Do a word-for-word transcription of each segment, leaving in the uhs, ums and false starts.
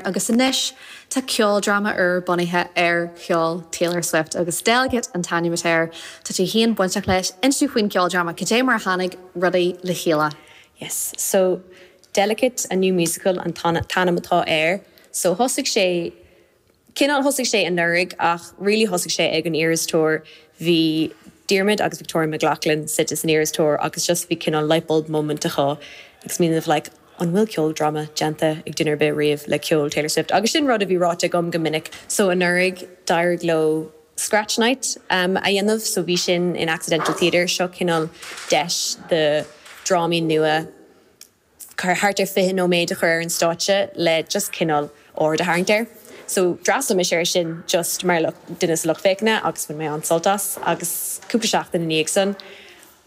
Agus anois tá ceoldráma úr bunaithe ar cheol Taylor Swift agus Delicate an t-ainm atá air tá tú féin bainteach leis inis faoin ceoldráma cad é mar a tháinig rudaí le chéile. Yes, so Delicate a new musical an t-ainm atá air, so thosaigh sé cineál thosaigh sé anuraidh ach really thosaigh sé ag an Eras Tour bhí Diarmuid agus Victoria McLaughlin suite san Eras Tour agus just bhí cineál lightbulb moment acu agus smaoineamh like, an bhfuil ceoldráma déanta ag duine ar bith riamh le ceol Taylor Swift. Agus sin rud a bhí ráite agam go minic, so anuraidh d'éirigh leo Scratch Night um, a dhéanamh, so bhí sin in Accidental Theatre seo cineál deis do drámaí nua thart ar fiche nóiméad a chur ar an stáitse le just cineál aird a tharraingt air. So d'fhreastail mise air sin just mar duine sa lucht féachana agus bhain mé an-sult as agus cúpla seachtain ina dhiaidh san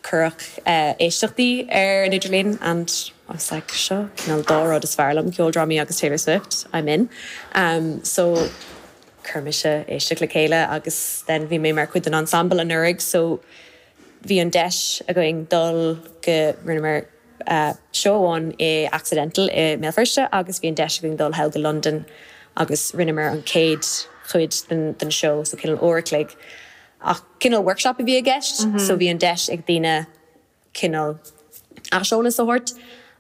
cuireadh uh, éisteachtaí ar an idirlíon and I was like seo cineál dá rud is fearr liom ceoldrámaí agus Taylor Swift I'm in. Um, so chuir mise éisteacht le chéile agus then bhí mé mar chuid den ensemble anuraidh so bhí an deis againn dul go rinneamar uh, show amháin i Accidental i mBéal Feirste agus bhí an deis againn dul thall go London agus rinneamar an chéad chuid den, den show so cineál uair a chloig. Ach cineál workshop a bhí i gceist, mm -hmm. so bhí an deis ag daoine cineál aiseolas a thabhairt.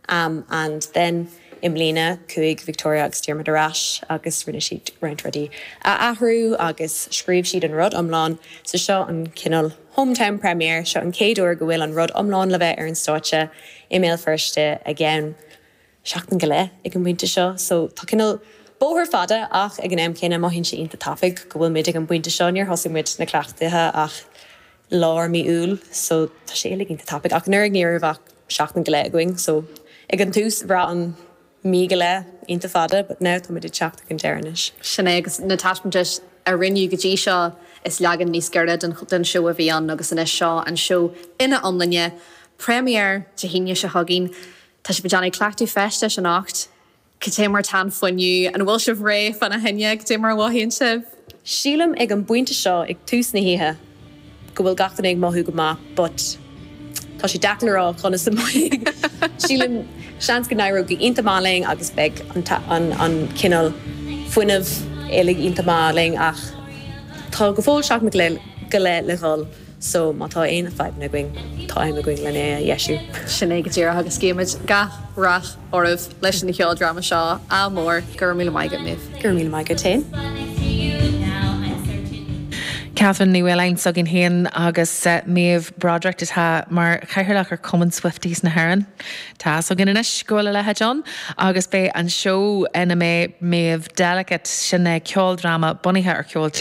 Um, and then i mbliana chuaigh Victoria agus Diarmuid ar ais agus rinne siad roinnt rudaí a athrú agus scríobh siad an rud iomlán sa seo an cineál hometown premiere seo an chéad uair go bhfuil an rud iomlán le bheith ar an stáitse i mBéal Feirste again seachtain go leith ag an bpointe seo, so tá cineál bóthar fada ach ag an am céanna mothaíonn sé iontach tapaidh go bhfuil muid ag an bpointe seo níor thosaigh muid na cleachtaithe ach lár mí Iúil so tá sé uilig iontach tapaidh ach nuair ní raibh ach seachtain go leith againn so ag an tús bhraith an mí go leith iontach fada, but now tá muid ag teacht ag an deireadh anois. Sin é agus na taispeántais a rinneadh go dtí seo is leagan níos giorra den, den seó a bhí ann agus anois seo an seó ina iomláine premiere Dé hAoine seo chugainn Tá sibh ag déanamh cleachtadh feistis anocht, Cad é mar tá an fuinneamh an bhfuil sibh réidh fána choinne cad é mar a mhothaíonn sibh. Sílim ag an bpointe seo ag tús na hoíche go bhfuil gach duine ag mothú go maith, but tá sé deacair a rá conas a mbeidh. Sílim seans go n-éireoidh go iontach maith linn agus beidh an, an, an cineál fuinneamh uilig iontach maith linn ach tá go fóill seachtain go leith go leith le dhul. So má tá aon fadhbanna againn tá am againn lena é a dheisiú. Sin é go díreach agus guímid gach rath oraibh leis an cheoldráma seo ádh mór go raibh míle maith agat Méabh. Go raibh míle maith agat féin. Catherine Ní Mhaoláin s'againn féin agus uh, Méabh Broderick atá mar chathaoirleach ar Cumann Swifties na hÉireann. Tá againn anois go bhfuil a leithéid ann agus beidh an seó ina mbeidh Méabh Delicate sin é ceoldráma bunaithe ar cheol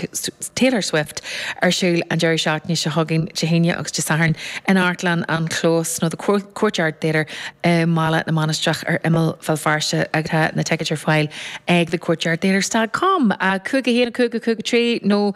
Taylor Swift ar siúl an deireadh seachtaine seo chugainn Dé hAoine agus Dé Sathairn in Amharclann an Chlós nó the Courtyard Theatre i mBaile na Mainistreach ar imeall Bhéal Feirste agus tá na ticéid ar fáil ag the Courtyard Theatre.com cúig a haon cúig cúig trí nó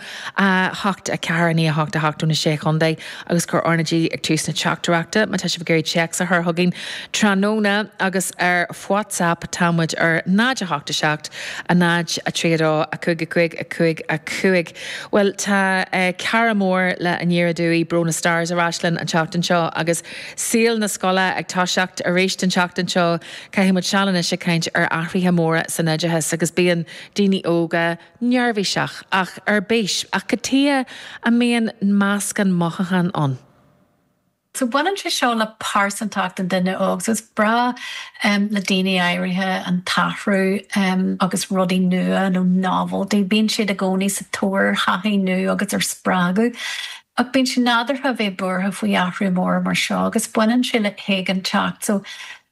hocht a ceathair naoi hocht a hocht na sé chontae agus cuir R na G ag tús na teachtaireachta má tá sibh ag iarraidh téacs a chur chugainn tráthnóna agus ar WhatsApp támuid ar náid a hocht a seacht a náid a trí dó a cúig a cúig a cúig a cúig. Well tá uh, cara mór le Aniar Aduaidh Brona Stars ar ais linn an tseachtain seo agus saol na scoile ag toiseacht arís an tseachtain seo caithfimid seal anois ag caint ar athruithe móra san oideachas agus bíonn daoine óga neirbhíseach ach ar bís ach cad chuige a mbíonn meascán mothúchán ann. So baineann sé seo le pearsantacht an duine óg, so is breá um, le daoine áirithe an t-athrú um, agus rudaí nua nó novelty, bíonn siad i gcónaí sa tóir taithí nua agus ar spreagadh. Ach bíonn sé nádúrtha bheith buartha faoi athrú mór mar seo agus baineann sé le héiginnteacht, so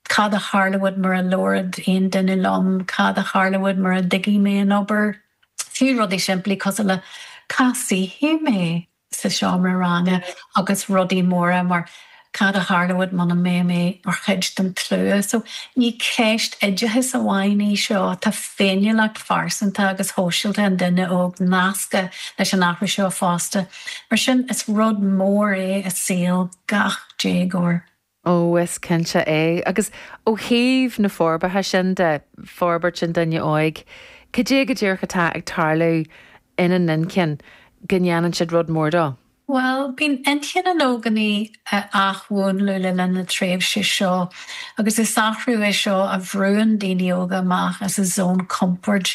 cad a tharlóidh mura labhróidh aon duine liom, cad a tharlóidh mura dtuigfidh mé an obair, fiú rudaí simplí cosúil le cá suífidh mé sa seomra ranga agus rudaí móra mar cad a tharlóidh muna mbeidh mé mar chuid den tslua. So ní ceist oideachais amháin í seo tá féiniúlacht phearsanta agus shóisialta an duine óg nasctha leis an athrú seo fosta. Mar sin is rud mór é i saol gach déagóir. Ó is cinnte é agus ó thaobh na forbartha sin de forbairt an duine óig, Cad é go díreach atá ag tarlú ina n-inchinn go ndéanann siad rud mór dó. Well, bíonn intinn an ógánaigh á mhúnlú le linn na tréimhse seo, agus is athrú é seo a bhrúnn daoine óga amach as a zón compoird.